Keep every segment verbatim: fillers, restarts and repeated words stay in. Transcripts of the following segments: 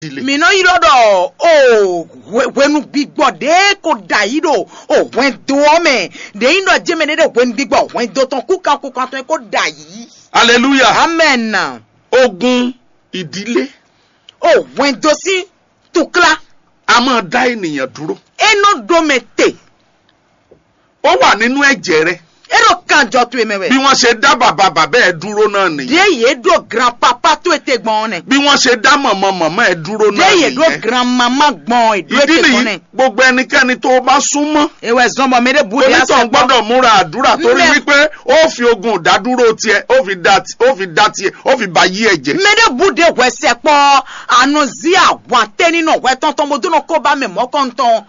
Mǐ nɔ ylɔ́ ɖɔ o hwe- hwenu gbigbɔ ɖě ko ɖo ayǐ ɖo o hwɛndo ɔ́ mɛ. Ɖě nyí ɖɔ jɛ́n mɛ ɖé ɖo hwenu gbigbɔ hwɛndo tɔn kúkan kúkan tɔn e ko ɖo ayǐ. Aleluya. Amɛn. Ogun ìdílé. O hwɛndo sín tukla. A máa dá ènìyàn dúró. É nɔ ɖó mɛ te. Ó wà nínú ẹ̀jẹ̀ rẹ. É ɖo kanjɔ towe mɛ wɛ. Bí wọ́n ṣe dá bàbá bàbá ẹ dúró náà nìyẹn. Ɖě yě ɖo granpapa towe te gbɔn ɔ́ nɛ. Bí wọ́n ṣe dá màmá màmá ẹ dúró náà Ɖě yě ɖo nìyẹn. Granmama gbɔn ɔ́, è ɖó Ìdí ète gbɔn nìyí, nɛ. Gbogbo ẹnikẹ́ni tó o bá súnmọ́, Ewɛ zɔn bɔ mɛ ɖé bu ɖe onítàn gbọ́dọ̀ múra àdúrà torí Mɛ- wípé ó fi ogun ìdádúró tiẹ̀, ó fi dá ti- ó fi dá tiẹ̀, ó fi ba yí ẹ jẹ. Mɛ ɖé bu ɖe hwɛ sɛ kpɔ anɔzi ahwan tɛ́ ní nɔ hwɛ tɔn tɔn bó dó nɔ kó ba mɛ mɔ̌kɔntɔn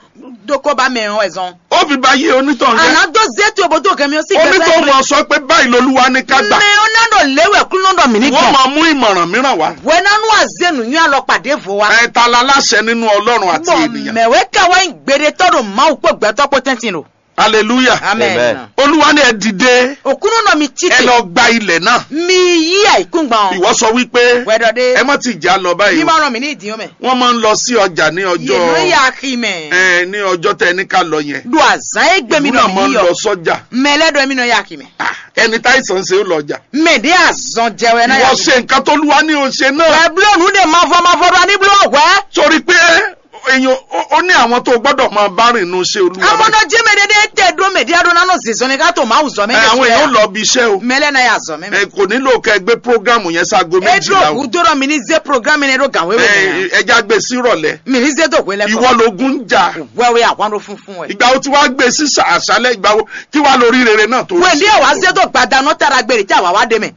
dó kó ba mɛ ɔ́ wɛ zɔn. Ó fi ba yí onítàn jẹ. Àná dó zé tu bó dó gɛmɛ ɔ́ sí gbɛsɛ. Onítàn mọ̀ sọ pé báyìí lolúwa ní ká gbà. Mɛ ɔ́ ná ɖo léwɛ kúnlọ́ ɖɔ mǐ ní Wọ́n gbɔn. Máa mú ìmọ̀ràn mìíràn wá. Hwɛ ná nú azé nǔnywɛ́ alɔkpa ɖěvo wá. Ẹ ta la láṣẹ nínú Ọlọ́run àti Bɔn ènìyàn. Mɛ wɛ ká wá nyí gbeɖetɔ́ ɖo Mawu kpó gbɛtɔ́ kpó tɛ́ntin ɖo. Hallelujah. Amen. Amen. Olúwa ní ẹ dìde. Òkúnú nɔ mi Ẹ títì. Lọ gba ilẹ̀ náà. Mi yí àìkúngbọ̀n. Ìwọ sọ wípé Wẹ́dọ̀ dé. Ẹ má ti jà lọ báyìí. Mi o. Máa ràn mí ní ìdíyàn mẹ́. Wọ́n máa ń lọ sí ọjà ní Yìí ló ọjọ́ yà kí mẹ́. Ẹ ní ọjọ́ tẹ ní ká lọ yẹn. Do àzán é gbé mi Ìlú náà máa ń lọ sọ́jà. Mẹ́lẹ́dọ̀ mi nọ yà kí mẹ́. Ah, ẹni táìsàn ṣe ó lọ ọjà. Mẹ̀dí àzán jẹwẹ́ náà Ìwọ yà kí. Ṣe nǹkan tó lúwa ní o ṣe náà. Wẹ́ bló nù dé mavɔ mavɔ ɖɔ ní bló hwẹ́. Torí pé èèyàn ó- ó ní àwọn tó gbọ́dọ̀ máa bá rìn nínú iṣẹ́ olúwa báyìí. Amɔnɔ jẹ́ mɛ ɖéɖé tɛ ɖó mɛ ɖíadó nánɔ zizɔn ní ká tó máa wù zɔ mɛ. Ẹ, àwọn èèyàn lọ bí iṣẹ́ o. Mɛlɛ náà yà zɔ mɛ. Ẹ, kò nílò kẹ́ ẹ gbé prógrámù yẹn ságo E méjìlá dúró o. Kú dúró mi ní zé programme ní ɖó gàn wéwé Ẹ, mɛ. Ẹ já gbé sírọ̀lẹ́. Mi ní zé tó hwé lẹ́kọ̀ọ́. Ìwọ ló gún jà. Wẹ́wẹ́ àwọn ló funfun wẹ̀. Ìgbà wo tí wàá gbé sí ṣà- àṣálẹ́ ìgbà wo kí wàá lórí rere náà tó Wẹ̀ ní ẹ̀ wá zé tó gbadanu tára gbèrè tí àwa wá dé mẹ́.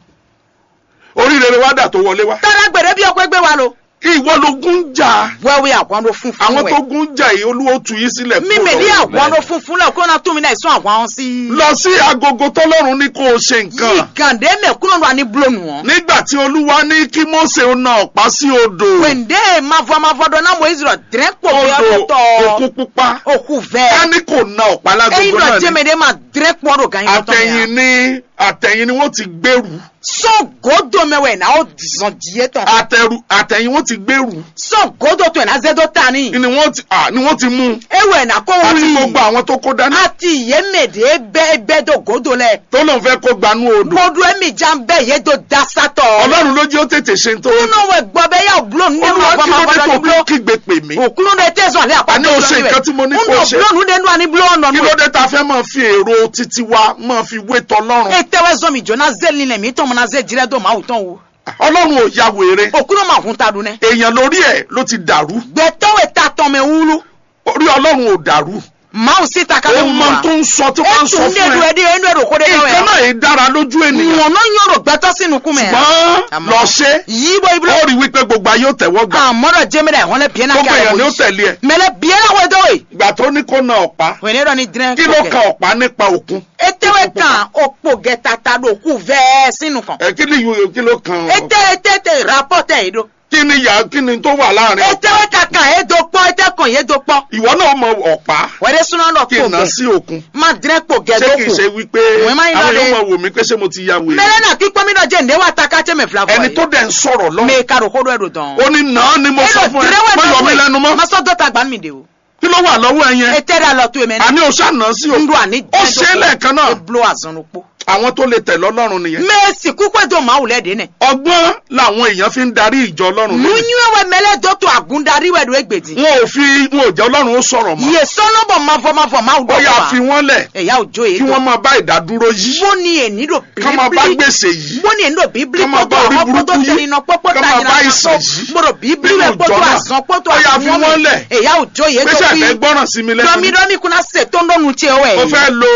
Orí rere wá dà tó wọlé wá. Tára gbèrè bí ọkọ̀ ẹgbẹ́ wa lo. Ìwọ ló gún jà. Wẹ́wẹ́ àwọn ló funfun Àwọn wẹ̀. Tó gún jà yìí, Olúwa ó tú yín sílẹ̀ Mi kúrò mèdí lọ́wọ́. Àwọn ló funfun lẹ̀ kó náà tún mi náà sún àwọn sí. Lọ sí agogo tọ́lọ́run ní kó o ṣe nǹkan. Yìí gàndé mẹ̀ kúrò lọ ní blónú wọn. Nígbà tí Olúwa ní kí Mósè ó na ọ̀pá sí odò. Wẹ̀ndé mavọ mavọ dɔ ná Moyizi lọ dẹ́rẹ́ kpò bí Odò ọdún tọ́. Òkun pupa. Òkú vẹ́. Ká ní kò na ọ̀pá Ẹyin lágogo lọ náà jẹ́ ni. Mẹ́dẹ́ máa dẹ́rẹ́ kpò ọdún gan yín tọ́ Àtẹ̀yìn ni àtẹ̀yìn ni wọ́n ti gbèrú. Sɔn godo mɛ wɛ na o zɔn diɛ tɔn. Àtẹ̀rù àtẹ̀yìn wọ́n ti gbèrú. Sɔn godo tɔn na zɛ do ta ni. Ni wọ́n ti à ni wọ́n ti mú. Ewɛ na ko Àti wuli. Gbogbo àwọn tó kó dání. Ati ye mɛ de bɛ bɛ do godo lɛ. Tó lóun fẹ́ kó gbanú odò. Modu emi jan bɛ ye do dasatɔ. Ọlọ́run ló jẹ́ ó tètè ṣe tó. Nínú wɛ gbọ́ bɛ yà blo nínú Olúwa, ọgbọ́n kí máa ló dé gbọ́dọ̀ tó ní blo. Kí gbé pè mí? Òkúlù de tẹ́ zɔn lé àpá Àní o ṣe nǹkan tí mo ní kó ṣe. Nínú blo nínú àní blo ọ̀nà Kí ló dé tá a fẹ́ máa fi èrò títí wa máa fi wé tọlọ́run? Etewezɔmi Jona zeli nɛ mi tɔn na ze jire do Mawu tɔn wo. Ọlọ́run ò ya wèrè. Okunu ma hun ta ɖu nɛ. Èèyàn lórí ẹ̀ ló ti dàrú. Gbɛtɔwe ta tɔn mɛ wulu. Orí Ọlọ́run ò dàrú. Mawu si ta ka Ó mɛ mọ wulu. Tó ń sọ tí wọ́n ń sọ Etu fún ne ɛ. Do edi enu eɖo ko de Nǹkan wɛ. Náà yìí dára lójú ènìyàn. Mɔnɔ nyɔ ɖo gbɛtɔ si nukun mɛ. Ṣùgbọ́n Àmọ́. Lọ ṣe. Yí bɔ iblo. Ó rí wípé gbogbo ayé ó tẹ̀wọ́ gbà. Àmọ́ dɔ jẹ́mi dɛ hɔn lɛ biɛ na Gbogbo èèyàn ni ó tẹ̀lé ẹ. Mɛ lɛ biɛ na wɛ dɔ we. Ìgbà tó ní kó na ọ̀pá. Wɛnɛ dɔ ni dren. Kí ló kan ọ̀pá nípa òkun? Etewe kan okpo gɛtata ɖo kú vɛɛ sín nukɔn. Ẹ kí ni yòyò kí ló kan? Ete ete te rapɔtɛ yi ɖo. Kí ni yà kí ni tó wà láàrin? Etewe ka kan ye do kpɔ ete kɔn ye do kpɔ. Ìwọ náà mọ ọ̀pá. Wɛrɛ suna dɔ Kí kpo n nà gɛ. Sí òkun. Ma dren kpo gɛ Ṣé do kì í kù. Ṣe wípé Wọ́n máa ń àwọn lọ yóò dé. Mọ wò mí pé ṣé mo ti ya wèrè? Mɛlɛ na kpikpɔ mi dɔ jɛ nde wa ta ka tse mɛ fila fɔ Ẹni ye. Tó dẹ̀ ń sọ̀rọ̀ lọ. Mɛ ka ɖo ko ɖɔ ɛ ɖo dɔn. Ó ní nà án ni mo sọ fún ẹ. Má yọ mí lẹ́nu mọ́. Ma sɔ dɔ ta gba mi de o. Kí ló wà lọ́wọ́ ẹ yẹn? Ete ɖe alɔ to ye mɛ. Àní o ṣáà nà án sí o. N do àní Ó ṣe é lẹ́ẹ̀kan náà. Eblo azɔn ló kpó. Àwọn tó lè tẹ̀lé Ọlọ́run nìyẹn. Mɛ si kúkú do Mawu lɛ de nɛ. Ọgbọ́n làwọn èèyàn fi ń darí ìjọ Ọlọ́run lónìí. Nunyiwe wɛ mɛ lɛ do to agun darí wɛ do egbe di. Wọn ò fi wọn ò jẹ́ Ọlọ́run ó sọ̀rọ̀ mọ́. Yè sɔnɔ bɔ mavɔ mavɔ Mawu Ó yá dɔ fi wọ́n lẹ̀. Eya o jo ye Kí do. Wọ́n máa bá ìdádúró yìí. Bó ni èní do Ká máa bá bíbélì. Gbèsè yìí. Bó ni èní do bíbélì Ká máa bá kpótó orí àwọn burúkú kpótó yìí. Tẹ̀lé iná kpótó Ká máa tàyìnà bá kpótó. Ìsìn yìí. Mo do bíbélì Ká máa kpótó bá àsùnwọ̀n Ìsìn yìí. Ó yá fi wọ́n lẹ̀. Eya o jo ye Pé do ṣe fi. Àfẹ́ gbọ́ràn sí mi lẹ́nu. Dɔmi dɔmi kuna se tó ń dɔnu tiɛ wɛ. Mo fẹ́ lo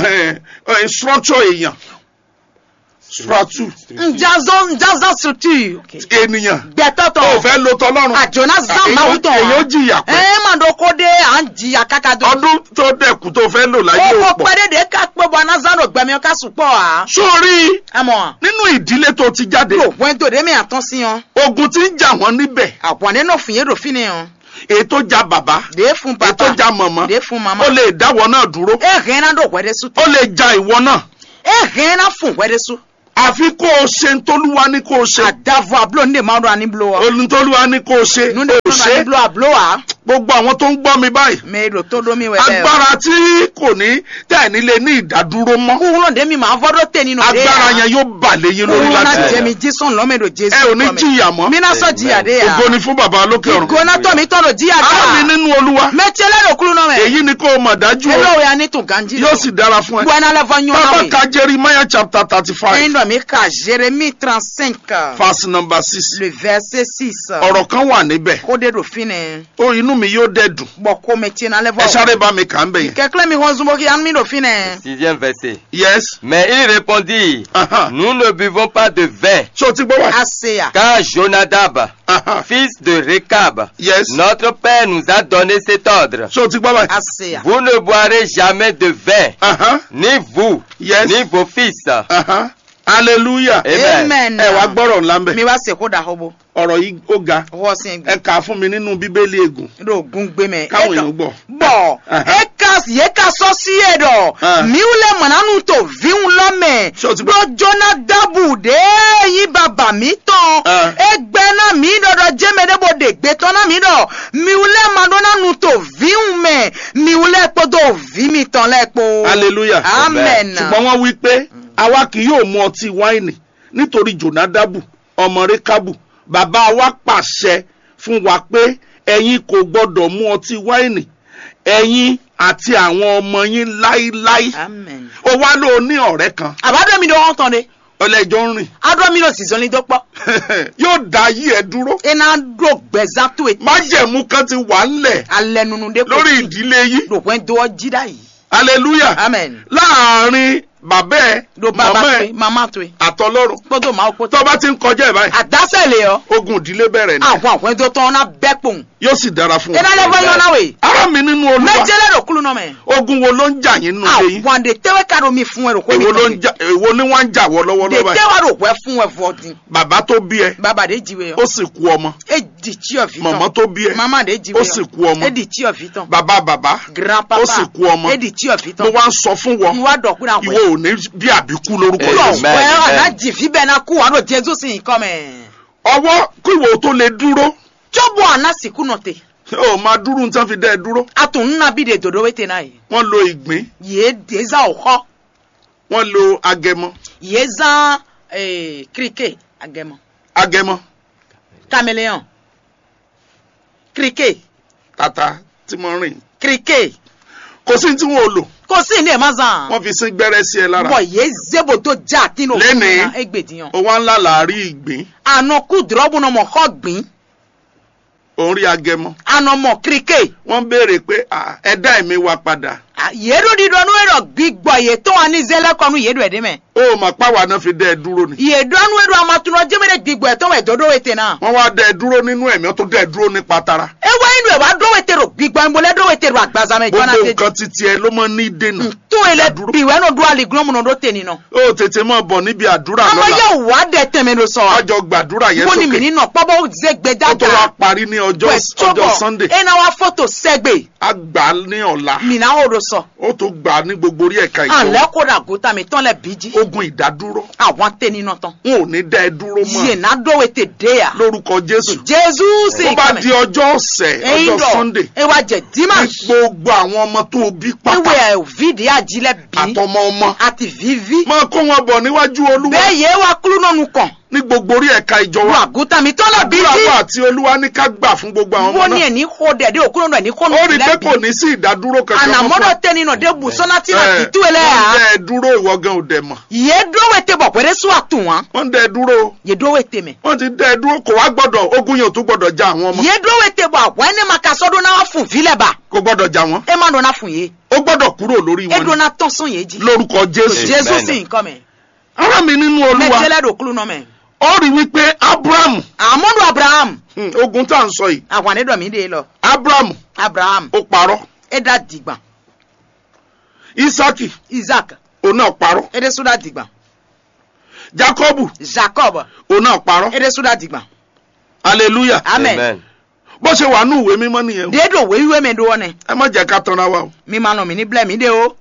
eh, eh, structure èèyàn. Structure. Njazɔ njazɔ structure. Ènìyàn. Gbɛtɔtɔ. O fẹ́ lo tọlọ́run. Àjò náà zan Èyí máa ó- wú tán. Èyí ó jìyà pé. Ẹ máa dɔ kó dé à ń jìyà káká dó. Ọdún tó dẹ̀kù tó fẹ́ lò láyé Ó ò kó pọ̀. Pẹ́ dédé ká pé bọ́ aná zan ló gbẹ̀mí ká sùn pọ̀ á. Sórí Àmọ́. Nínú ìdílé tó ti jáde. Yóò wẹ́n tó dé mi àtọ́ sí yan. Ogun ti ń jà wọ́n níbẹ̀. Àwọn nínú fìyè dò fínni yan. Èyí tó ja bàbá. Dé fún Èyí tó bàbá. Ja màmá. Dé fún màmá. Ó lè dáwọ́ náà dúró. E hɛn na ɖo hwɛ ɖe su. Ó lè ja ìwọ náà. E hɛn na fún hwɛ ɖe su. Àfi kó o ṣe ntólúwa ní kó o ṣe. Adavo ablo nu ɖe Mawu ɖɔ ani blo ɔ. Ntólúwa ní kó o ṣe. Nu ɖe Mawu ɖɔ ani blo ablo a. Gbogbo àwọn tó ń gbọ́ mi báyìí. Mɛ e ɖo tó ɖó mi wɛ bɛɛ. Agbára tí kò ní tẹ̀ ní lé ní ìdádúró mọ́. Kúrúnà ɖe mi máa vɔ ɖó tɛ nínú ɖe. Agbára yẹn yóò bà lé yín lórí láti. Kúrúnà jẹ mi jí sùn lọ́mọ ɖo Jésù. Ẹ ò ní jìyà mọ́. Mi ná sọ jìyà ɖe ya. Ògo ni fún Bàbá lókè ọ̀run. Ìgò náà tọ́ mi tọ́ ɖo jìyà gbà. Ara mi nínú Olúwa. Mɛ tiɛ lɛ ɖo kúrúnà mɛ. Èyí ni kó o mọ̀ dájú o. Elo ya ní tún ganji. Yóò sì dára fún ẹ. Bwana lɛ vɔ nyɔ Bàbá náà wè. Ka Jeremiah chapter thirty five. Ẹyin dɔ mi ka Jérémie trente-cinq. Verse number six. Le verset six. Ọ̀rọ̀ kan wà níbẹ̀. Kó de ɖo fínɛ. Ó, inú mi yóò dẹ̀ dùn. Bɔ ko mɛ tiɛ na lɛ vɔ. Ẹ sáré bá mi kà ń bẹ̀ yẹn. Kɛklɛ mi hɔn zunbo ki anu mi ɖo fínɛ. Sixième verset. Yes. Mais il répondit, Aha. Nous ne buvons pas de vin. Ṣé o ti gbọ́ wá? Aseya. Car Jonadab, Aha. Fils de Rekab, Yes. Notre père nous a donné cet ordre. Ṣé o ti gbọ́ báyìí? Aseya. Vous ne boirez jamais de vin, Aha. Ni vous, Yes. Ni vos fils. Aha. Hallelujah. Amen. Ẹ wá gbọ́rọ̀ ńlá ń bẹ̀. Mi wá sèkó da hobo. Ọ̀rọ̀ yìí ó ga. Wọ́n sin Ẹ kà á fún mi nínú Bíbélì ègùn. Ɖo gun gbe mɛ. Káwọn èèyàn gbọ́. Bɔ Aha. Eka yě ka sɔ́ sí e ɖɔ Ah. Mǐ wú lɛ́ mɔ̌ ná nu to vǐwun lɔ mɛ. Ṣé o ti gbọ́? Ɖó Jonadabu ɖě nyí babà mǐtɔn. Ah. É gbɛ́ ná mǐ ɖɔɖɔ jɛ́n mɛ ɖé bó ɖe gbe tɔn ná mǐ ɖɔ mǐ wú lɛ́ ma ɖó ná nu to vǐwun mɛ, mǐ wú lɛ́ kpódó vǐ mitɔn lɛ́ɛ kpó. Hallelujah. Amen. Ṣùgbọ́n wọ́n wí pé, "Àwa kì yóò mu ọtí wáìnì nítorí Jonadabu, ọmọ Rekabu, bàbá wa pàṣẹ fún wa pé ẹ̀yin kò gbọ́dọ̀ mu ọtí wáìnì, ẹ̀yin àti àwọn ọmọ yín láíláí." Amen. O wá ló ní ọ̀rẹ́ kan. Àbádọ́ mi ɖó hɔn tɔn ɖe. Ọlẹ́jọ́ ń rìn. Adó mi ɖo zizɔnlin dó kpɔ. Yóò dá yí ẹ dúró. E na ɖo gbɛzan to e. Májẹ̀mú kan ti wà ńlẹ̀ Alɛ nunu ɖe lórí ìdílé yìí. Ɖo hwɛn do ɔ jí ɖa yìí. Hallelujah. Amen. Láàárín bàbá ẹ, Ɖo baba màmá ẹ, to e, mama to e. Àtọlọ́run. Kpódó Mawu kpódó. Tó bá ti ń kọjá ẹ̀ báyìí, Àdásẹ̀ lè ɔ. Ogun ìdílé bẹ̀rẹ̀ ni. Àwọn àhwẹ́ndó tán ná bẹ́ kpòun. Yóò sì dára fún Ena lè vɔ nyɔ na we. Ara mi nínú Olúwa. Mɛjɛ lɛ ɖo kúlú nɔ mɛ. Ogun wo ló ń jà yín nínú ilé yín? Àwọn de tẹ́wẹ́ ká ɖo mi fún ẹ ɖo kó mi Èwo ló ń jà, èwo ni wọ́n ń jà wọ́ lọ́wọ́lọ́wọ́ De báyìí? Tẹ́wẹ́ ɖo hwẹ́ fún ẹ vɔ din. Bàbá tó bí ẹ, Baba de jí we ó ɔ. Sì kú ọmọ. E di tí ɔ fi tán. Màmá tó bí ẹ, Mama de jí ó we sì ɔ. Kú ọmọ. E di tí ɔ fi tán. Bàbá bàbá, Grand papa. Ó sì kú ọmọ. E di tí ɔ fi Mo tán. Wá ń sọ fún wọn, Mo wá dọ̀ kúrò àwọn. Ìwọ ò ní bí àbíkú lórúkọ Amen. Jésù. Wẹ́ ɔ, àná jì fí bẹ́ẹ̀ ná kú wá ɖo Jésù sí nǹkan mẹ́. Ọwọ́ kí ìwọ tó lè dúró. Tsobo àná sìkú nɔ te. O máa dúró ní tí wọ́n fi dá ẹ dúró. A tún ń ná bí de dòdó wé te náà yìí. Wọ́n lo ìgbín. Yéé dèzá òkọ́. Wọ́n lo agẹmọ. Yéé zán eh, kíríkè agẹmọ. Agẹmọ. Caméléon. Kíríkè. Tata tí mo rìn. Kíríkè. Kò sí tí wọn ò lò. Kò sí ní ẹ̀ má zan. Wọ́n fi sín gbẹ́rẹ́ sí ẹ lára. Bọ̀ yéé zébo tó já àti nù. Lénìí. Égbèdìyàn. O wá ńlá là á rí ìgbín. Àná kú dùrọ́bù náà mọ̀ kọ́ gbìn. Ò ń rí agẹmọ. Àná mọ̀ kíríkè. Wọ́n béèrè pé, "Ah, ẹ dá ẹ̀mí wa padà." Yéɖu ɖiɖɔ nú e ɖɔ gbigbɔ yětɔn wá ní zé lɛ́ kɔ nú yě ɖɔ ɛ ɖé mɛ. O mà pa wà náà fi dá ẹ dúró ni. Yě ɖɔ nú e ɖɔ amatunɔ jɛmɛ ɖe gbigbɔ yětɔn wɛ dó ɖó we te ná. Wọ́n wá dá ẹ dúró nínú ẹ̀mí, wọ́n tún dá ẹ dúró ní patara. E wá yín ɖo ẹ̀ wá ɖó we te ɖo gbigbɔ yín bo lɛ ɖó we te ɖo agbaza mɛ jɔna Gbogbo te. Nǹkan titi ẹ ló máa ní dènà. Tó e lɛ Àdúró. Bi wɛ nɔ ɖó aliglɔn mu nɔ ɖó te ninɔ. O tètè máa bọ̀ níbi àdúrà Amɔ lọ́la. Yɛ wà ɖɛ tɛmɛ ɖo sɔ. Wọ́n jọ gbàdúrà yẹn Mo ni sókè. Mi ní nọ kpɔbɔ ze gbɛ Ó tó wá dada. Parí ní ọjọ́, Wɛ ọjọ́ sɔbɔ. Sunday. E na wá foto sɛgbe. A gbà á ní ọ̀la. Mi na o ɖo sɔ. Ó tó gbà á ní gbogbo orí ẹ̀ka ìjọ. Alẹ́ kó ɖa gota mi tɔn lɛ bí jí. Ogun ìdádúró. Àwọn tẹni nɔ tán. N ò ní dá ẹ dúró mọ́. Yè ná dó we te dé ya. Lórúkọ Jésù. Jésù sì Ó bá kàmẹ́. Di ọjọ́ ọ̀sẹ̀, Ẹyin ọjọ́ dọ̀. Sunday. E wa jẹ Ní dimanche. Gbogbo àwọn ọmọ tó o bí pátá. Ewe ẹ̀ òvi de ají lɛ bí. Àtọmọ ọmọ. Àti vivi. Máa kó wọn bọ̀ níwájú Olúwa. Bẹ́ẹ̀ yé wa kúrú nọ́nu kàn. Ní gbogbo orí ẹ̀ka ìjọ Wà wa. Gúta mi tọ́lọ̀ bí Àdúrà bí. Wa àti Olúwa ní ká gbà fún gbogbo àwọn Wo ọmọ ni náà. Ẹ̀ ní kó dẹ̀ dé òkúrò náà ní kó nù Ó rí i pé lẹ́bi. Kò ní sí ìdádúró kankan mọ́ fún Ànàmọ́dọ̀ wa. Tẹ́ni nà dé bù sọ́nà tí nà Ẹ, títú ẹ lẹ́ wọ́n à. Dẹ́ ẹ dúró ìwọ gan ò dẹ̀ mọ̀. Yé dó wete bọ̀ pẹ̀lẹ́ sùn àtùn wá. Wọ́n dẹ́ ẹ dúró. Yé dó wete mẹ́. Wọ́n ti dẹ́ ẹ dúró kò wá gbọ́dọ̀ ogun yẹn ò tún gbọ́dọ̀ já àwọn ọmọ. Yé dó wete bọ̀ àwọn ẹni ma ka sọ́dún náà wá fún vilẹ̀ bá. Kò gbọ́dọ̀ já wọn. Ẹ má dọ̀ náà fún yé. Ó gbọ́dọ̀ kúrò lórí Ẹ wọn dọ̀ ni. Náà tán sún yé jí. Lórúkọ Jésù. Jésù Amen. Sì nǹkan mẹ́. Ará mi nínú Olúwa. Mẹjẹlẹ ɖo kúlúnɔ mɛ. Ó rí wípé Abraham. Àmọ́dún Abraham. Hmm, ogun tá à ń sọ yìí. Àwọn ànídọ̀ mi dé lọ. Abraham. Abraham. Ó parọ́. É dá dìgbà. Isaki. Isaac. Òun náà parọ́. É dé sún dá dìgbà. Jacob. Jacob. Òun náà parọ́. É dé sún dá dìgbà. Hallelujah. Amen. Amen. Bó ṣe wà ní ìwé mímọ́ nìyẹn o. Dé ɖo wéwíwé mɛ ɖó ɔ́ nɛ. Ẹ má jẹ́ ká tán ra wa o. Mi ma nɔ mí ní blɛ́ mí ɖé o.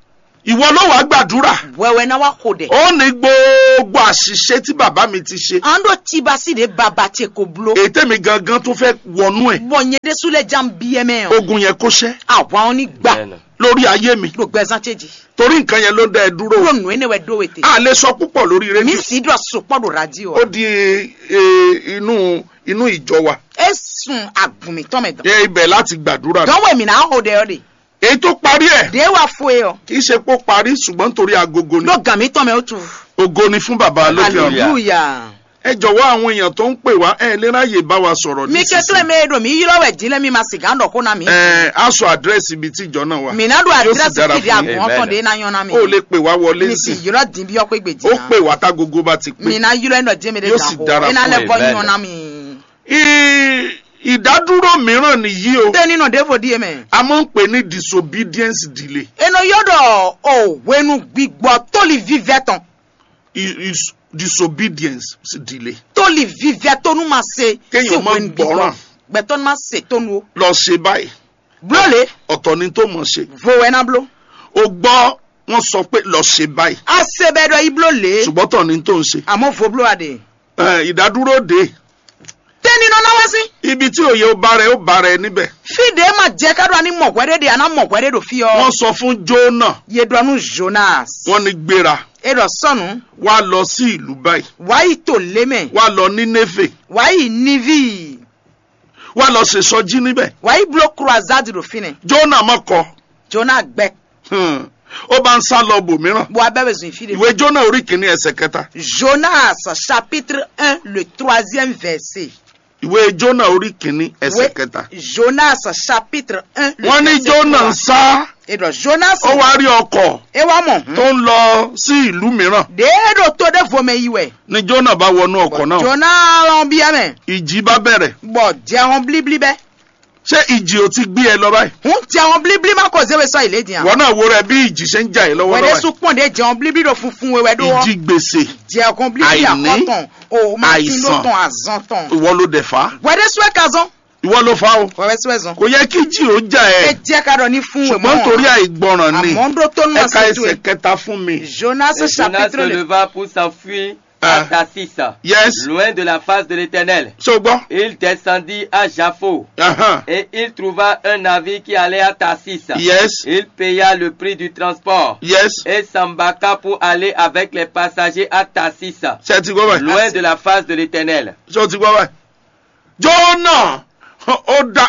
Ìwọ ló wàá gbàdúrà. Wɛwɛ ná wá xo ɖɛ. Ó ní gbogbo àṣìṣe tí bàbá mi ti ṣe. An ɖo tibasi ɖe baba ce ko blo. Ètè mi gangan tún fẹ́ wọnú ẹ̀. Bɔ nyɛ ɖésú lɛ jan biɛ mɛ o. Ogun yẹn kó ṣẹ́. Àwa ɔ́ ní gbà. Amen. Lórí ayé mi. Ɖo gbɛzán ce jí. Torí nǹkan yẹn ló dá ẹ dúró. Ɖo nǔ énɛ́ wɛ ɖó wete. A lè sọ púpọ̀ lórí rédíò. Mi sì ɖɔ sopɔ ɖo radio. Ó di eh, inú inú ìjọ wa. E sun agun mi tɔn mɛ dɔn. Ẹ ibẹ̀ láti gbàdúrà. Dɔn wɛ mi na xo ɖɛ ɔ de. Èyí tó parí ẹ̀. De wa fo e ɔ. Kì í ṣe pé ó parí, ṣùgbọ́n nítorí agogo ni. Ɖo gǎn mi tɔn mɛ ó tu. Ògo ni fún bàbá lókè ọ̀run. Hallelujah. Ẹ jọ̀wọ́, àwọn èèyàn tó ń pè wá, ẹ lè ráyè bá wa sọ̀rọ̀. Mi nísinsìnyí. Kekle mɛ e ɖo mi ylɔ wɛ din lɛ mi ma sigan ɖɔ xó na mi. Ẹ á sọ àdírẹ́sì ibi tí ìjọ náà wà. Mi na ɖo. Yóò sì àdírẹ́sì dára fídíò fún yín. Àgùn ɔtɔn de na nyɔ na mi. Ó lè pè wá wọlé. Mi sì nísìn. Ylɔ din bí ɔkpé gbèjì. Ó pè wá tágogo bá ti pé. Mi na ylɔ ɛ nɔ jẹ́ mi de. Yóò sì gan xó. Dára fún yín. E na lɛ bɔ nyɔ na mi. Ì- ìdádúró mìíràn nìyí o. Tẹ́ni nɔ ɖěvo ɖíe mɛ. A máa ń pè ní disobedience delay. Enɔ yɔ ɖɔ o hwenu gbigbɔ tóli vívɛ tɔn. I- is- disobedience delay. Tóli vívɛ tónú ma se. Kéèyàn má gbọ́ràn. Gbɛtɔ́ ma se tónú o. Lọ ṣe báyìí. Bló le. Ọ̀tọ̀ ni tó mọ̀ ṣe. Vo wɛ ná bló. O gbọ́ wọn sọ pé lọ ṣe báyìí. A se bɛ ɖɔ yi bló le. Ṣùgbọ́n tọ̀ ni tó ń ṣe. Àmọ́ vo bló a de. Ẹ, ìdádúró dé. Tẹ́ni nɔ ná wá sí. Ibi tí òye ó bá rẹ, ó bá rẹ níbẹ̀. Fi de ma jẹ ká ɖo ani mɔ hwɛ ɖe de ana mɔ hwɛ ɖe ɖo fi ɔ. Wọ́n sọ fún Jónà. Ye ɖɔ nú Jonas. Wọ́n ní gbéra. E ɖɔ sɔnu. Wá lọ sí ìlú báyìí. Wá yi to le mɛ. Wá lọ Nínéfè. Wá yi Nivi. Wá lọ ṣe sọjí níbẹ̀. Wá yi bló croisade ɖo fi nɛ. Jónà má kọ. Jonas gbɛ. Hmm. Ó bá ń sá lọ bòmíràn. Bó abẹ́ bẹ zun ìfí de. Ìwé Jónà orí kìíní ẹsẹ̀ kẹta. Jonas chapitre un, le troisième verset. Ìwé Jónà orí kìíní ẹsẹ̀ kẹta. Jonas chapitre un, le verset trois. Wọ́n ní Jónà ń sá. E ɖɔ Jonas. Ó wá rí ọkọ̀. E wá mọ̀. Tó ń lọ sí ìlú mìíràn. Ɖe e ɖo to ɖe vo mɛ yi wɛ. Ni Jónà bá wọnú ọkọ̀ náà. Jonas lɔn biɛ mɛ. Ìjì bá bẹ̀rẹ̀. Bɔ jɛ hɔn blíblí bɛ. Ṣé ìjì ò ti gbé ẹ lọ báyìí? Hun jɛ hɔn blíblí ma ko zé we sɔ ìlé diyan. Wọ́n náà wo rẹ bí ìjì ṣe ń jà ẹ́ lọ́wọ́lọ́wọ́. Wɛde sukpɔn de jɛ hɔn blíblí ɖo funfun we wɛ ɖo. Ìjì gbèsè. Jɛ hɔn blíblí àkɔtɔn. O ma ti ló tɔn azɔn tɔn. Ìwọ ló dẹ̀ fà á. Wɛde sue ka zɔn. Ìwọ ló fà á o. Wɛwɛ sue zɔn. Kò yẹ kí jì ó jà ẹ. E jẹ ka ɖɔ ní fún wẹ mɔ. Ṣùgbọ́n torí àìgbọràn ni. Àmọ́ ɖó tó nù ma ṣe tó ẹ. Ẹ̀ka ẹsẹ̀ kẹta fún mi. Jonas chapitre le. Et Jonas se leva pour s'enfuir à Tarsis, yes, loin de la face de l'Éternel. Ṣùgbọ́n. Il descendit à Jaffo, uh-huh, et il trouva un navire qui allait à Tarsis. Yes. Il paya le prix du transport, yes, et s'embarqua pour aller avec les passagers à Tarsis, loin de la face de l'Éternel. Ṣé o ti gbọ́ báyìí? Jónà, ó dá,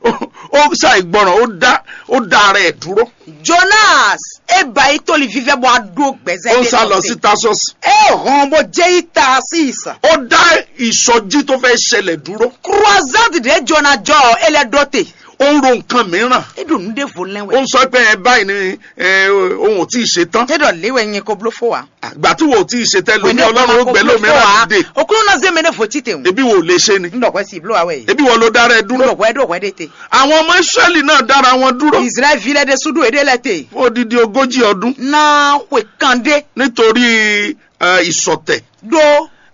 ó ṣàìgbọràn, ó dá, ó dá ara ẹ̀ dúró. Jonas e ba yi toli vivɛ bɔ a ɖo gbɛzɛ. Ó ń sá lọ sí Tarsus. E hɔn bó jẹ́ yí Tarsis. Ó dá ìsọjí tó fẹ́ ṣẹlẹ̀ dúró. Croisade de Jonas jɔ e lɛ ɖo te. Ó ń ro nǹkan mìíràn. E ɖo nu ɖe vo lɛn wɛ. Ó ń sọ pé ẹ báyìí ni ẹ, ohun ò tí ì ṣe tán. E ɖɔ le wɛ nyɛ ko blo fo wa. Àgbà tí wò ó tí ì ṣe tẹ́lẹ̀ ní Ọlọ́run ó gbé lómìíràn dìde. Okunu na zeme ne vo tite o. Ebi wò lè ṣe ni. N dɔgɔ si blo awɛ. Ebi wò ló dára ẹ dúró. N dɔgɔ ẹ dɔgɔ ɛ de te. Àwọn ọmọ Ísírẹ́lì náà dára wọn dúró. Israel vi lɛ de sudu ede lɛ te. Fún odidi ogójì ọdún. Na xwe kande. Nítorí eh, ìsọ̀tẹ̀. Do.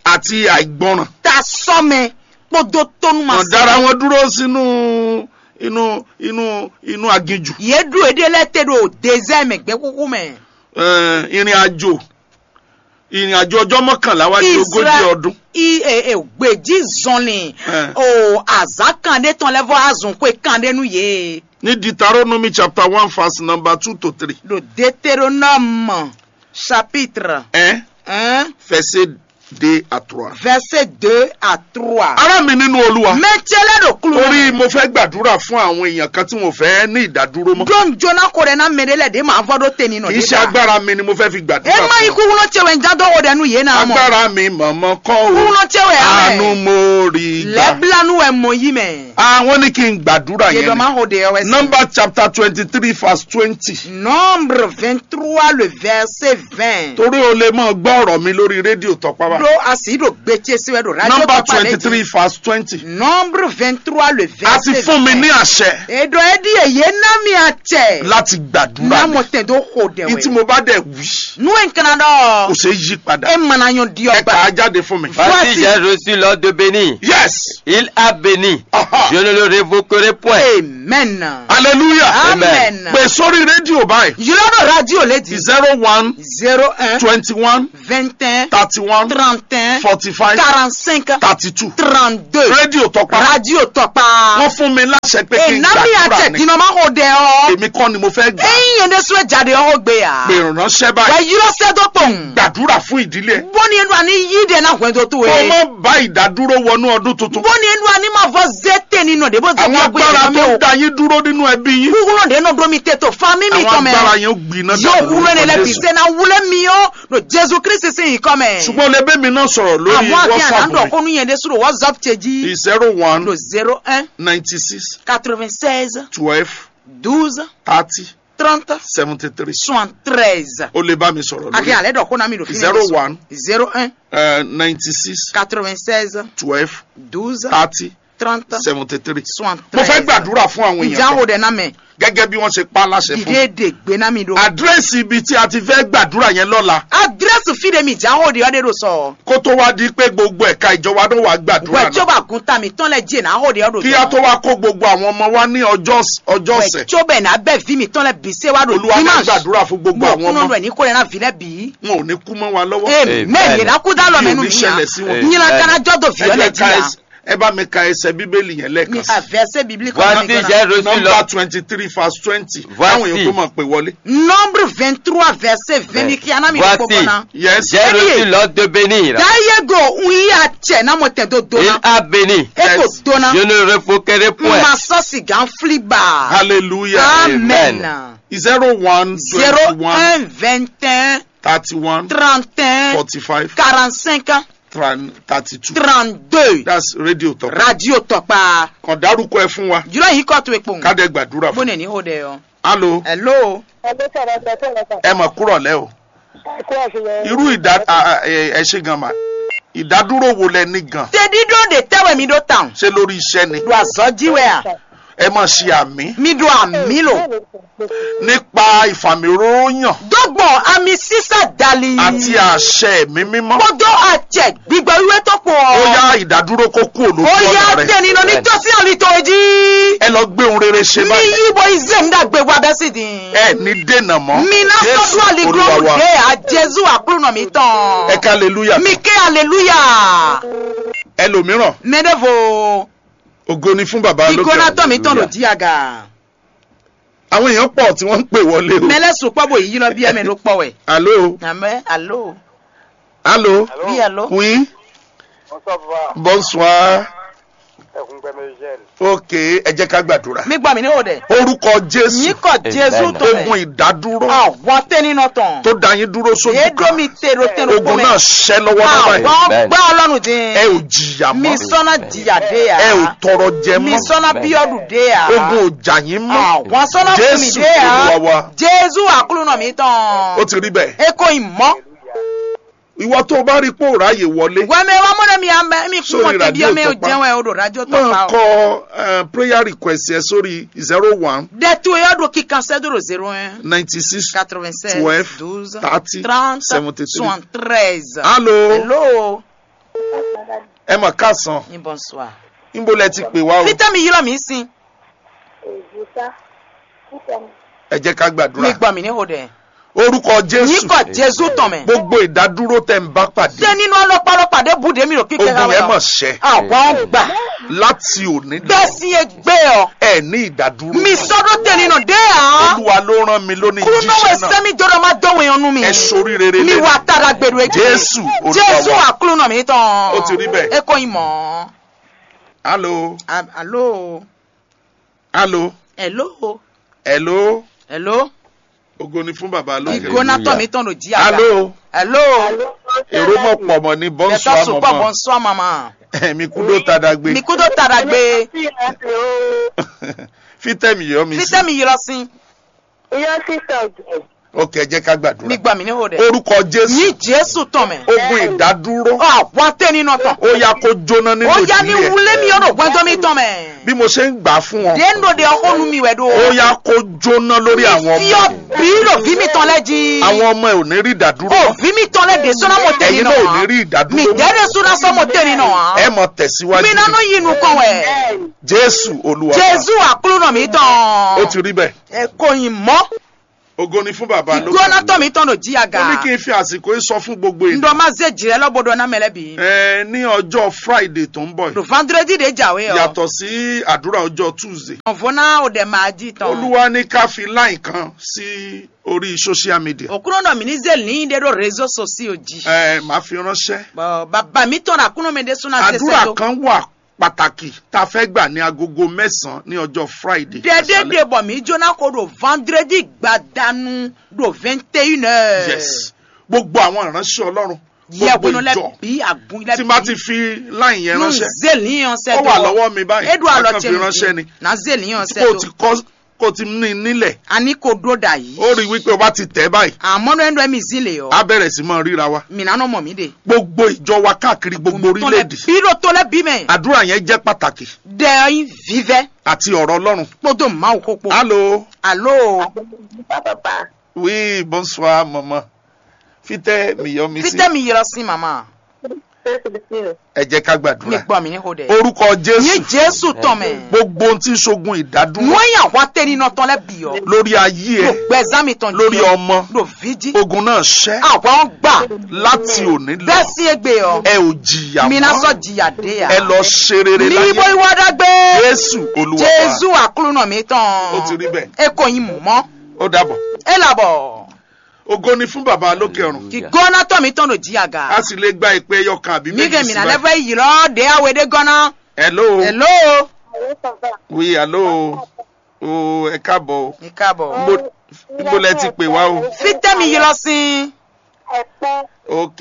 Àti àìgbọràn. Ta sɔmɛ kpódó tónú ma. Wọ́n dára wọn dúró sínú inú inú inú aginjù. Yé dúró ede lɛ te ɖo désert mɛ gbɛ kúkú mɛ. Eh, ìrìn àjò ìrìn àjò ọjọ́ mọ́kànlá wá di ogójì ọdún. I e e gbèjì zɔnlin. Eh. O azan kan ɖe tɔn lɛ vɔ azun xwe kan ɖe nu ye. Ní Deuteronomy chapter one verse number two to three. Ɖo Deutéronome chapitre un, verset deux à trois. Verset deux à trois. Ará mi nínú Olúwa. Mɛ cɛ lɛ ɖo kulu. Torí mo fẹ́ gbàdúrà fún àwọn èèyàn kan tí mo fẹ́ ní ìdádúró mọ́. Ɖo n jona ko ɖe na mɛ ɖe lɛ ɖe ma vɔ ɖo te ni nɔ. Kì í ṣe agbára mi ni mo fẹ́ fi gbàdúrà fún. E ma yi kukunɔ cɛ wɛ n ja dɔ o ɖe nu ye na mɔ. Agbára mi mọ̀mọ́ kọ́ o. Kukunɔ cɛ wɛ. Àánú mo rí gbà. Lɛ blanu wɛ mɔ yi mɛ. Ah, wọ́n ní kí n gbàdúrà yẹn. Yedɔ ma ho de yɔ wɛ si. Number chapter twenty-three verse twenty. Nombre vingt-trois, le verset vingt. Torí o lè mọ gbọ́ ọ̀rọ̀ mi lórí rédíò Tọ́pá báyìí. Ɖo asi ɖo gbetsɛ si wɛ ɖo radio Tɔkpa lɛ dzi. Number twenty-three verse twenty. Nombre vingt-trois, le verset vingt. A ti fún mi ní àṣẹ. Eɖɔ eɖi eye na mi atsɛ. Láti gbàdúrà. Na mɔ tɛn do xo dɛ wɛ. Ìtí mo bá dẹ̀ wí. Nu e n kana ɖɔ. Kò ṣeé yí padà. E mana nyɔ di ɔgba. Ẹ kà á jáde fún mi. Voici, j'ai reçu l'ordre de bénir. Yes. Il a béni. Aha. Je ne le révoquerai point. Amen. A Hallelujah. Amen. Pè sórí rédíò báyìí. Yìlọ́dọ̀ radio lady. Zero one Zero un. twenty one Vingt un. thirty one Quarante un. forty five Quarante cinq. Thirty two. Trente deux. Rédíò Tọ́pá. Radio Tɔkpa. Wọ́n fún mi láṣẹ pé kí n Enami gbàdúrà atɛ ni. Dinɔma xo dɛ ɔ. Èmi kọ́ ni mo fẹ́ gbà. Eyin yɛn de sue jade ɔ xo gbe ya. Pè ránṣẹ́ Wɛ báyìí. Yirɔ sɛ do kpɔn. Gbàdúrà fún ìdílé ẹ̀. Bóni enu ani yí de na hwɛn do to Kó o ye. má bá ìdádúró wọnú ọdún tuntun. Bóni enu ani ma vɔ zé te ni nɔ de bó zé Àwọn bí agbára ọgbẹ́ tó yẹn ń da yín dúró nínú ẹbí yín. Kúkúrú de nɔ do mi te to fa mi mi Àwọn tɔn mɛ. agbára yẹn ó gbiná Yóò dànù wúlò ní lórúkọ lẹ́bi Jésù. sẹ́ na wúlò mi ó. No Jésù Kristi sí yìí kọ́ mɛ. Ṣùgbọ́n o lè bẹ́ mi náà sọ̀rọ̀ lórí Àwọn àti àná WhatsApp dọ̀ mi. kónú yẹn de sùrù WhatsApp tse jí. Zero one No zero un. ninety six Quatre-vingt-seize. twelve Douze. thirty Trente. seventy three. Soixante-treize. O lè bá mi sọ̀rọ̀ Akẹ́ lórí. alẹ́ dọ̀ kónú mi do fi. Zero one Zero un. uh, ninety six Quatre-vingt-seize. twelve Douze. thirty Trente. seventy three. Soixante-treize. Mo fẹ́ gbàdúrà fún àwọn Ǹjẹ́ èèyàn àwòdẹ náà mẹ́? Gẹ́gẹ́ bí wọ́n ṣe pa láṣẹ fún mi. Dìde dè gbé ná mi ɖo. Àdírẹ́sì ibi tí a ti fẹ́ gbàdúrà yẹn lọ́la. Adresse fi ɖe mi dza xo ɖe ɔ́ ɖe ɖo sɔ. Kó tó wá di pé gbogbo ẹ̀ka ìjọba náà wá gbàdúrà Wɛ tso náà. ba gun ta mi tɔn lɛ dzi na xo ɖe ɔ́ ɖo. Kí a tó wá kó gbogbo àwọn ọmọ wá ní ọjọ́ ọjọ́ Wɛ ọ̀sẹ̀. tso bɛ na bɛ vi mi tɔn lɛ bi se wa ɖo. Olúwa ní gbàdúrà fún gbogbo àwọn Mɔkunɔ ọmọ. Ɖɔ ní ko ɖe na vi lɛ bi. Wọn ò ní kú mọ́ wa lọ́wọ́. Amen. Yìí na kú dá lɔ mɛ nu mi ya. Ṣẹlẹ̀ sí wọn. Nyina kana jɔ do vi Ẹ ɔlɛ jẹ́ dzi ká ya. ẹ- ẹ bá mi ka ẹsẹ̀ bíbélì yẹn Mi lẹ́ẹ̀kan. ka verset biblique Voici, kɔnɔ. j'ai reçu Nọ́mbà l'ordre. twenty three verse twenty. Voici. Káwọn èèyàn tó mọ̀ pé wọlé. Nombre vingt-trois verset vingt ni kia na mi Voici. kpɔkpɔ na. Yes. J'ai reçu l'ordre de bénir. Dayego un yi atsɛ na mɔ tɛ do do Il na. a béni. E ko do na. Je ne révoquerai point. Ma sɔ sigan fili ba. Hallelujah. Amen. Zero one Zéro twenty one un vingt un thirty one trente un forty five quarante cinq thirty two. trente deux. That's Radio Tọ́pá. Radio Tɔkpa. Kàn dárúkọ ẹ fún wa. Jùlọ yìí kọ́ tó epo. Ká dẹ̀ gbàdúrà fún. Bóni ní o dẹ yọ. Alo, Hello. Ẹgbẹ́ sọ̀rọ̀ sọ̀tọ̀ lọ́kàn. Ẹ mọ̀ kúrọ̀ lẹ́ o. Ẹ kú àṣeyọrí. Irú ìdá a- a- ẹ ẹ ṣe gan ma. Ìdádúró wo lẹ ní gan? Tẹ̀dídó de tẹ́wẹ̀ mi ɖó tàn. Ṣé lórí iṣẹ́ ni? Ɖo azɔji wɛ a. Ẹ máa ṣe àmì. Mi ɖo àmì lo. Nípa ìfàmìróróyàn Dógbɔn ami sísá dali. Àti àṣẹ ẹ̀mí mímọ́. Kpódó àtsɛ gbígbɛ wíwé tó kpó. Ó yá ìdádúró kó kú òlójú Ó yá ọ̀nà rẹ̀. tẹ̀nínú ní tọ́sí ọ̀lì tó jí. Ẹ lọ gbé ohun rere ṣe Mi báyìí. yí bo izé ń dàgbé wa bẹ́ẹ̀ sì dín. Ẹ ní dènà mọ́. Mi ná Jésù sọ́dún àlìkúrò Olúwa wa. dé à Jésù àkúrúnà mi tán. Ẹ ká aleluya. Mi ké aleluya. Ẹlòmíràn, Mẹ́dẹ́fò. Ògo ni fún bàbá lókè Ìgò náà ọ̀run. tán mi tán ló jí àga. Àwọn èèyàn pọ̀ tí wọ́n ń pè wọlé o. Mẹ́lẹ́ sùpọ̀ bò yí lọ bí ẹ̀mí ló pọ̀ wẹ̀. Alo, Àmẹ́ alo. alo, Oui alo. Oui, Bonsoir, papa. Bonsoir. Ẹkún gbẹmí Eugène. Ok, ẹ jẹ́ ká gbàdúrà. Mi gbọ́ mi ní o dẹ̀. Orúkọ Jésù. Yín kọ Jésù Amen. tó Ogun mẹ́. Ìdádúró Àwọn tẹ́ni náà tán. Tó da yín dúró sójú Èédó kan. Mi tèrò tèrò Ogun náà ṣẹ́ lọ́wọ́lọ́wọ́ Àwọn báyìí. Amen. gbá ọlọ́run dín. Ẹ ò jìyà Mi mọ́. Sọ́nà jìyà dé yà. Ẹ ò tọrọ jẹ Mi mọ́. Sọ́nà bí ọdún dé yà. Ogun ò jà yín mọ́. Àwọn Sọ́nà fún mi Jésù dé yà. Olúwa wa. Jésù àkúrúnà mi tán. Ó ti rí bẹ́ẹ̀. Eko ìmọ̀. Ìwọ tó o bá rí pé ò ráyè wọlé. Wẹ́mẹ́ wá mọ́nà mi àmẹ́ mi fún Sórí wọn tẹ̀bí radio ọmọ ẹ̀ ò Tọ́pá. jẹun ẹ̀ ò dò rájọ́ Máa Tọ́pá o. kọ eh, prayer request ẹ sórí zero one Dẹ̀tú ẹ̀ yóò dò kíkan sẹ́dúró zéro un ninety six quatre-vingt-seize twelve douze thirty trente seventy three. soixante-treize. Alo, Hello. ẹ mà káàsán. Ní bonsoir. Níbo lẹ ti pè wá o? Peter mi yílọ mi sin. Èjìká. Títẹ̀ mi. Ẹ jẹ́ ká gbàdúrà. Mi gbọ́ mi ní o dẹ̀. Orúkọ Jésù. Yín kọ Jésù tán mẹ́. Gbogbo ìdádúró tẹ ń bá pàdé. Ṣé nínú ọlọ́pàá ọlọ́pàá dé búdé mi rò kíkẹ́ Ogun yẹn mọ̀ ṣẹ́. Àwọn gbà. Láti òní. Bẹ́ẹ̀ sì yẹ gbé ọ. Ẹ ní ìdádúró. Mi sọ́dọ̀ tẹ̀lé nà dé à. Olúwa ló rán mi lónìí Kúrú náà wẹ̀ jíṣẹ́ náà. Sẹ́mi jọ̀rọ̀ máa dọ́wọ́ ẹ̀yàn nú mi. Ẹ ṣorí rere Mi lẹ́nu. Wà tara gbèrú ẹ. Jésù Olúwa Jésù wa. Àkúrú nà mí tán. Ó ti rí bẹ́ẹ̀. Eko ìmọ̀. Alo, A- Alo. alo, Hello. Alo. Hello. Ògo ni fún bàbá lókè. Ìgò náà tọ̀ mí tán ló jí àgbà. Alo. Hello. Èrò mọ̀ pọ̀ mọ̀ ní Bẹ̀tọ̀ bonsoir sùpọ̀ mọ̀mọ́. Bonsoir maman. Mi kú dó ta dagbe. Mi kú tó tara gbé. Fítẹ́mi yọ mi sí. Fítẹ́mi yọ sí. Iyán sísọ jẹ. Ok, ẹ jẹ́ ká gbàdúrà. Mi gbà mí ní o dɛ. Orúkọ Jésù. Ní Jésù tɔn mɛ. Ogun ìdádúró. Ɔ, wá tẹ́ nínú tɔn. Ó yá kó jóná nínú Ó yá ní ìdílé ẹ. Wulé mi ọ̀nà gbọ́njọ́ mi tɔn mɛ. Bí mo ṣe ń gbà á fún ọ. Dé ń dòde ọkọ nu mi wẹ̀ do. Ó yá kó jóná lórí àwọn ọmọ. Fi ọ bí lò bí mi tán lẹ́ jí. Àwọn ọmọ ẹ ò ní rí ìdádúró. Ò bí mi tán lẹ́ dé sọ́nà mo tẹ́ Ẹ̀yin nínú náà ò ní rí ìdádúró. Mi dẹ́rẹ́ sọ́nà sọ́ mo tẹ́ nínú wa. Ẹ mọ tẹ̀síwájú. Mi nánú yìí nu kàn wẹ̀. Jésù Olúwa. Jésù àkúrò mi tán. Ó ti rí bẹ́ẹ̀. Ẹ kò yín mọ́. Ògo ni fún bàbá lókè. Ìgbóná tọ̀ mí tán ló jí aga. Ó ní kí n fi àsìkò yìí sọ fún gbogbo ènìyàn. Ǹdọ́ máa zé jìrẹ́ lọ́bọ̀dọ̀ náà mẹ́lẹ́ bí. Ẹ ní ọjọ́ Friday tó ń bọ̀ yìí. Lò vendredi de jàwé ọ. Yàtọ̀ sí àdúrà ọjọ́ Tuesday. Ọ̀vọ́n náà ò dẹ̀ máa jí tán. Olúwa ní ká fi line kan sí orí social media. Òkúrò náà mi ní zé lìn dé ɖo réseau sociaux jí. Ẹ máa fi ránṣẹ́. Bàbá mi tán àkúnú mi dé súná ṣe Àdúrà kan wà pàtàkì tá a fẹ́ gbà ní agogo mẹ́sàn-án ní ọjọ́ Friday. Dɛdɛ de bɔ mi jóná ko ɖo vendredi gbadanu ɖo vingt et une heures. Yes. Gbogbo àwọn ìránṣẹ́ Ọlọ́run. Yɛkunu lɛ bí agun lɛ bí. Tí n bá ti fi line yẹn ránṣẹ́. Nze liyan sɛ ó wà lọ́wọ́ mi báyìí. Edu alɔ tse mi ránṣẹ́ ni. Na ze liyan sɛ kó o ti kọ́ kó o ti ní nílẹ̀. Ani ko dó da yìí. Ó rí wípé o bá ti tẹ̀ báyìí. Àmọ́ ní ẹnu ẹ̀mí zin lè yọ. A bẹ̀rẹ̀ sí máa ríra wa. Mìíràn náà mọ̀ mí de. Gbogbo ìjọ wa káàkiri gbogbo orílẹ̀-èdè. Bí ló tó lẹ́ bí mẹ́. Àdúrà yẹn jẹ́ pàtàkì. Dẹ̀ ẹ́ vívẹ́. Àti ọ̀rọ̀ Ọlọ́run. Kpódó máa kó po. Alo. Alo. Papa. Oui, bonsoir, maman. Fitɛ mi yɔ mi sí. Fitɛ mi yɔ sí, maman. Ẹ jẹ́ ká gbàdúrà. Mi gbọ́ mi ní hodẹ. Orúkọ Jésù. Ní Jésù tán mẹ́. Gbogbo ohun tí ń ṣogun ìdádúró. Nú ẹ̀yà wá tẹ́ nínú tán lẹ́ bì ọ́. Lórí ayé ẹ. Ló gbẹ zámi tán. Lórí ọmọ. Ló fíjí. Ogun náà ṣẹ́. Àwa ń gbà. Láti òní lọ. Bẹ́ẹ̀ sí egbe ọ. Ẹ ò jìyà mọ́. Mi ná sọ jìyà dé ya. Ẹ lọ ṣe rere láyé. Ní ibo ìwà dàgbé. Jésù Olúwa wa. Jésù àkúrúnà mi tán. Ó ti rí bẹ́ẹ̀. E kò yin mú mọ́. Ó dàbọ̀. E làbọ̀. Ògo ni fún bàbá lókè ọ̀run. Kì gɔna tɔ mi tɔn ɖo dzi aga. A sì lè gba ìpè ẹyọ kan àbí méjì sí báyìí. Mi kɛ mina lɛ fɛ yi lɔ de awe de gɔna. Hello. Hello. Oui, hello. O ẹ káàbọ̀ o. Mi káàbọ̀. Níbo níbo lẹ ti pè wá o? Fitɛ mi yi lọ sí. Ok.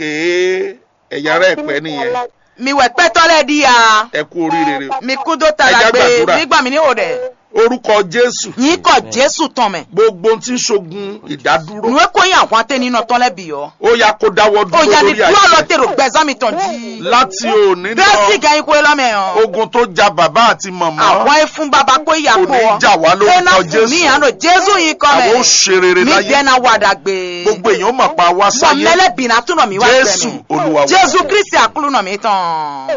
Ẹ̀yà rẹ pẹ́ nìyẹn. Mi wɛ kpɛtɔ lɛ di ya. Ẹ kú oríire o. Mi kú dó ta Ẹ jẹ́ la gbé gbàdúrà. Nígbà mi ní o dɛ. Orúkọ Jésù. Yín kɔ Jésù tán mɛ. Gbogbo ohun tí ń ṣogun ìdádúró. Nù é kó yín àwọn atẹ́ni náà tán lẹ́bi ọ́. Ó yá kó dáwọ́ dúró Ó yá ní lórí dúró lọ àìsàn. Tèrò gbẹ̀zán mi tán jí. Láti òní Bẹ́ẹ̀ sì lọ, gan ikú ẹ lọ́mọ ẹ̀ hàn. Ogun tó ja bàbá àti màmá. Àwọn ẹ fún baba kó ìyá Kò kó ní ọ. Jà wá lórúkọ Ẹ náà fún mi Jésù. Àná Jésù yín kọ́ Àwọn mẹ́. Ó ṣe rere Mi láyé. Dẹ́nà wà dàgbé. Gbogbo èèyàn ó mọ̀ pa wá Bọ̀ sáyé. Mẹ́lẹ́ bìnnà túnọ̀ mi wá Jésù gbẹ̀mí. Olúwa wa. Jésù Kristi àkúrúnà mi tán.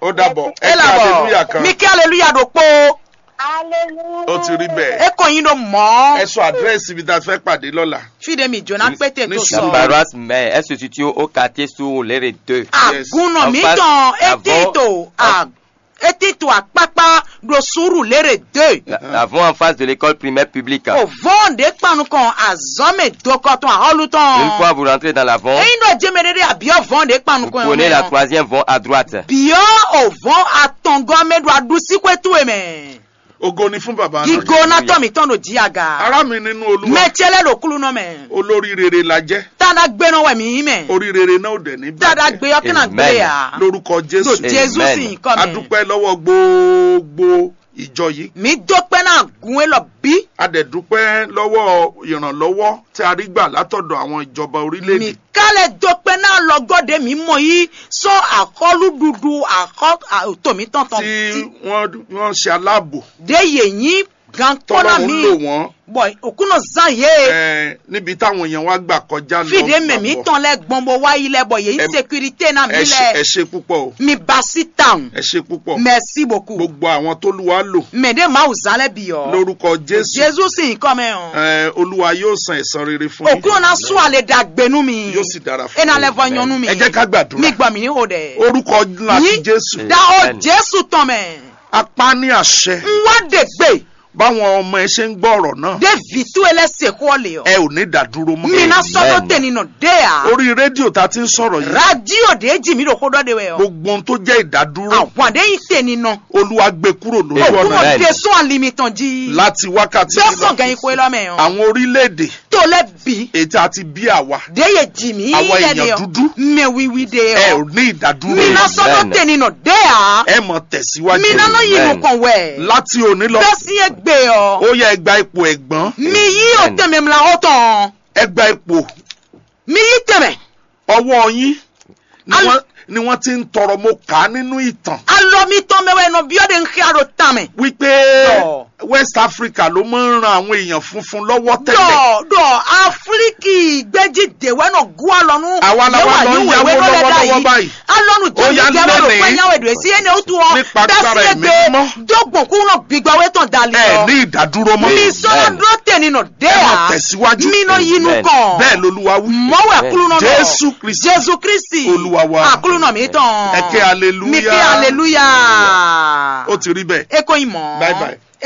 Ó dàbọ̀. Ẹ Ẹ kí làbọ̀. Hallelujah kan. Mi kí hallelujah ɖokpó. Ó ti rí bẹ́ẹ̀. E kò yin ɖo mɔ̌. Ẹ sọ àdírẹ́sì ibi tá a fẹ́ pàdé lọ́la. Fi ɖe mi jóná Ní- pété ní tó sùúrù. Sɔ. La paroisse mère, elle se situe au quartier Surulere deux. Yes. Àgùnà mi tàn etí tó etí tó àpápá ɖo Surulere deux. Nous avons en face de l'école primaire publique. O vɔn ɖe kpanu kɔn azɔn mɛ dokɔ tɔn ahɔlu tɔn. Une fois vous rentrez dans l'avant, Eyin ɖo jeme ɖe ɖe abiɔ vɔn ɖe kpanu vous kɔn prenez la troisième vont à droite. Biɔ o vɔn atɔngɔ mɛ ɖo aɖusi xwe towe mɛ. Ògo ni fún bàbá náà. Gigo na tɔ mi tɔn ɖo dzi aga. Ará mi nínú Olúwa. Mɛ cɛ lɛ ɖo kúlú nɔ mɛ. Olórí rere la jẹ́. Tada gbenɔ wɛ mi yí mɛ. Orí rere náà ò dẹ̀ ní bàjẹ́. Tada gbe yɔ kɛnɛ gbe ya. Lórúkọ Jésù. Ɖo Jésù sin kɔ mɛ. A dúpẹ́ lọ́wọ́ gbogbo ìjọ yìí. Mi dó pẹ́ náà gun e lɔ bí. A dẹ̀ dúpẹ́ lọ́wọ́ ìrànlọ́wọ́ tí a rí gbà látọ̀dọ̀ àwọn ìjọba orílẹ̀-èdè. Mi ká lɛ dó pẹ́ náà lɔ gɔ́ ɖe mi mɔ yí sɔ́ axɔ́lúɖuɖu axɔ́ to mi tɔn tɔn. Tí wọ́n wọ́n ṣe aláàbò. Ɖe yě nyí gan kpɔ́ ná mi. Tọ́lọ́run lò wọ́n. Bɔ òkúnɔ zan yé. Ẹ níbi táwọn èèyàn wá gbà kọjá lọ. Fìdí mẹ̀mí tán lẹ gbọ́n bó wá yí lẹ bọ̀ yé sécurité náà mi lẹ. Ẹ ṣe púpọ̀ o. Mi ba sí tàun. Ẹ ṣe púpọ̀. Merci beaucoup. Gbogbo àwọn tó lù wá lò. Mẹ̀dẹ́ máa wù zálẹ̀ bì ọ́. Lórúkọ Jésù. Jésù sì ń kọ́ mẹ́ ọ́. Ẹ Olúwa yóò san ẹ̀san rere fún yín. Òkúnɔ náà sún àlè dàgbénú mi. Yóò sì dára fún yín. Ẹ náà lẹ fọ yọnu mi. Ẹ jẹ́ ká gbàdúrà. Mi gbọ́ mi ní o dẹ̀. Orúkọ ńlá ti Jésù. Da ọ Jésù tán mẹ́. Apá ní àṣẹ. N wá dègbè. Báwọn ọmọ ẹ ṣe ń gbọ́ ọ̀rọ̀ náà. Dé vǐ towe lɛ́ se xó ɔ́ lě ɔ́. Ẹ ò ní dá dúró mọ́. Mi ná sɔ́ dó te ninɔ ɖe ǎ. Orí rédíò tá a ti ń sọ̀rọ̀ yìí. Rádíò ɖě jí mi ɖo xó ɖɔ ɖe wɛ ɔ́. Gbogbo ohun tó jẹ́ ìdádúró. Àwọn ɖě yí te ninɔ. Olúwa gbé kúrò lójú ọ̀nà Òkúnɔ yìí. De sún alimi tɔn jí. Láti wákàtí Bẹ́ẹ̀ yìí lọ. Sàn gẹ̀yìn xwe lɔ mɛ ɔ́. Àwọn orílẹ̀-èdè. Tó lẹ́ bí. Èyí tí a ti bí àwa. Ɖě yě dzi mí Àwa yɛ èèyàn ɖe ɔ́, dúdú. Mɛ wiwi ɖe Ẹ ɔ́. Ò ní ìdádúró. Mi ná sɔ́ ɖó Amen. Te ninɔ ɖe ǎ. Ẹ mọ̀ tẹ̀síwájú. Mi ná nɔ yi Amen. Nukɔn wɛ. Láti òní lọ. Bẹ́ẹ̀ sí kpé ɔ́. Ó yá, ẹ gba ipò ẹ̀gbọ́n. Mi yí o tɛnmɛ mla xɔ tɔn. Ẹ gba ipò. Mi yí tɛnmɛ. Ọwọ́ yín ni wọ́n ni wọ́n ti ń tọrọ, mo kà á nínú ìtàn. Alɔ mitɔn mɛ wɛ nɔ biɔ ɖe nxia ɖo tan mɛ. Wípé West Africa ló máa ń ran àwọn èèyàn funfun lọ́wọ́ tẹ́lẹ̀. Dɔ dɔ Afliki gbɛji de wɛ nɔ gu alɔ nu. Àwa la wá lọ ń yáwó lọ́wọ́lọ́wọ́ báyìí. Alɔnu jɔ mi jɛ wɛ ɖo kpɛ nyawe ɖo esi ene wotu ɔ. Nípa agbára ẹ̀mí mímọ́. Dɔgbɔn kú nɔ gbigba wɛ tɔn dali. Ẹ ní ìdádúró mọ́. Mi sɔnna dúró tẹni nɔ dé a. Ẹ máa tẹ̀síwájú. Mi nɔ yinu kàn. Bẹ́ẹ̀ lolúwa wí. Mɔwɛ kulunɔ nɔ. Jésù Kristi. Jésù Kristi. Olúwa wa. Akulunɔ mi tɔn. Ẹ ké hallelujah. Mi ké hallelujah. Ó ti rí bẹ́ẹ̀. Eko yin mɔ. Bye bye.